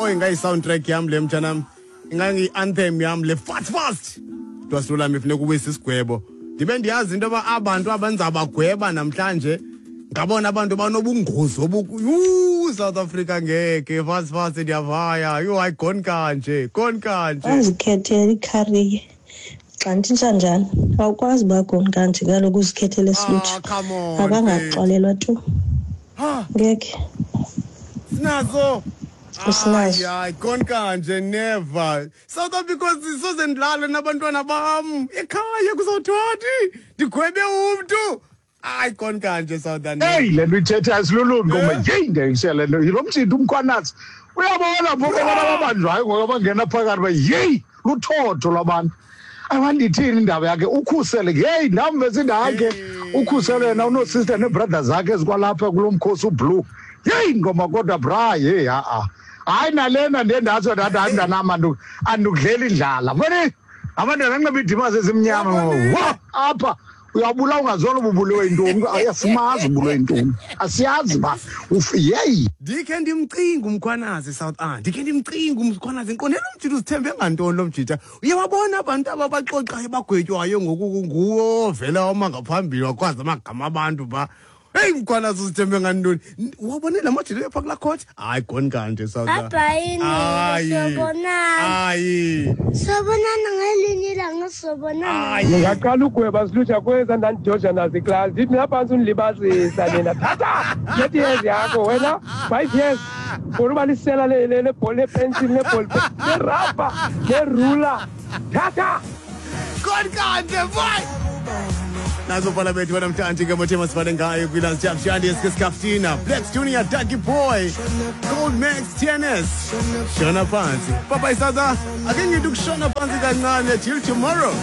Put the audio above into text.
Oh, ingayi-soundtrack yam le, mtshanam, ingayi-anthem yam le, fast fast. Kuthiwa silulame, funeka uwise isigwebo. Ndibe ndiyazi into yoba abantu abenza bagweba namhlanje ngabona abantu banobungozi obu. Yhu, South Africa, ngeke. Fast fast, ndiyavaya. Yhu, hayi, gone kanje, gone kanje. Wazikhethela icareer xa ntshintsha njani, awukwazi uba gone kanje kaloku uzikhethele Ah, come on. Abangaxolelwa tu. Ha. Ngeke. Sinazo. Usinazo. Hayi, gone kanje, never, South Africa. Soze ndilale nabantwana bam ekhaya, kuzawuthiwa ndigwebe umntu. Hayi, gone kanje, South. Eyi, le nto ithetha asilulungi ngoba yeyi, ndiyayisela le nto yilo mtshinto uMkhwanazi. Uyabona phofu abantu ababanjwayo ngoku abangena phakathi uba yeyi, luthotho lwabantu. Awandithini indaba yakhe ukhusele, yeyi, ndamve sindakhe ukhusele yena, unoosister neebrother zakhe ezikwalapha kulo mkhosi ublue. Yeyi, ngoma kodwa bra, yeyi, ha-a, hayi, nalena ndiye ndatsho ndathi hayi mntanam, andikudleli indlala foni, abantwana anxiba iidimazi ezimnyama wa apha, uyabula ungazona uba ubulewe yintoni, asimazi ubulewe yintoni, asiyazi uba yeyi. Ndikhe ndimcinga uMkhwanazi, South a ndikhe ndimcinga uMkhwanazi, ndiqonde lo mjita uzithembe ngantoni lo mjita? Uyawabona abantu aba baxoxayo bagwetywayo ngoku, nguwo vele wama ngaphambili wakwazi amagama abantu phaa. Heyi, Mkhwanazi uzithembe ngantoni? Wabone la majita phaa kulaa court. Hayi, gone kanje, South. Bye-bye, Hayi. sobonana. Hayi. Sobonana ngelinye ilanga, sobonana. Ndingaqala ugweba silutsha kweza ndandijoja nazo iklasi, ndithi mna phantsi undilibazisa nina, thatha 30 years yakho wena, 5 years for uba lisela lebholi, lepensili, lebholi, lerabha, lerula, thatha. Gone kanje, boy. Nazo bhala bethu namhlanje ke mothema sifane ngayo kwi-Last Jab Shandi Skaftina, Blacks Junior, Ducky Boy, Gold Max TNS. Shona phansi. Bye bye, Sada. Ake ngithi ukushona phansi kancane till tomorrow.